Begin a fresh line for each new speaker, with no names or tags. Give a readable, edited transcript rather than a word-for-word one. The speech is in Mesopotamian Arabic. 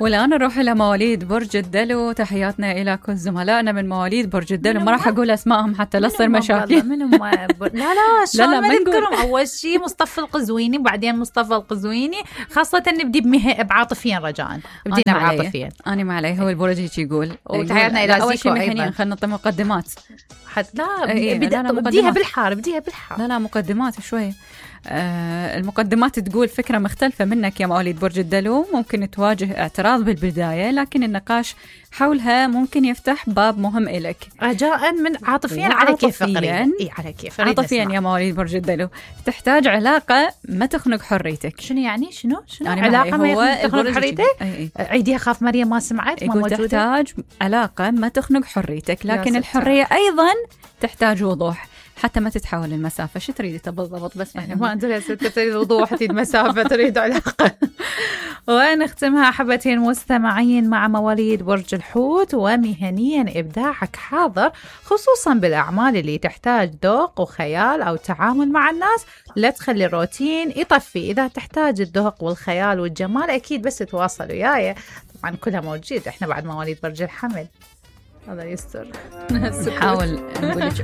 والآن نروح إلى مواليد برج الدلو. تحياتنا إلى كل زملائنا من مواليد برج الدلو. ما راح أقول أسمائهم حتى لا تصير مشاكل.
لا شلون ما نذكرهم. أول شيء مصطفى القزويني، وبعدين مصطفى القزويني. خاصة نبدي بعاطفيا رجاء. بدينا بعاطفيا.
أنا ما علي، هو البرج هيك يقول.
وتحياتنا إلى
أول شيء مهنيا خلينا نعطي مقدمات.
بديها بالحار.
لا مقدمات شوي. المقدمات تقول فكرة مختلفة منك يا مواليد برج الدلو، ممكن تواجه اعتراض بالبداية، لكن النقاش حولها ممكن يفتح باب مهم إلك.
رجاء من عاطفيا على كيف على كيف
عاطفيا يا مواليد برج الدلو. تحتاج علاقة ما تخنق حريتك.
شنو يعني شنو علاقة ما تخنق حريتك؟ عيديها خاف مريم ما سمعت.
ما موجودة. تحتاج علاقة ما تخنق حريتك، لكن الحرية أيضا تحتاج وضوح حتى ما تتحول المسافة. شو تريد بالضبط؟ بس
ما أدري. تريد وضوح، تريد مسافة، تريد علاقة. ونختمها أحبتي المستمعين مع مواليد برج الحوت. ومهنيا إبداعك حاضر، خصوصا بالأعمال اللي تحتاج ذوق وخيال أو تعامل مع الناس. لا تخلي الروتين يطفي. إذا تحتاج الذوق والخيال والجمال أكيد بس تواصل وياي، طبعا كلها موجود. إحنا بعد مواليد برج الحمل. هذا يستر.
نحاول نقول لك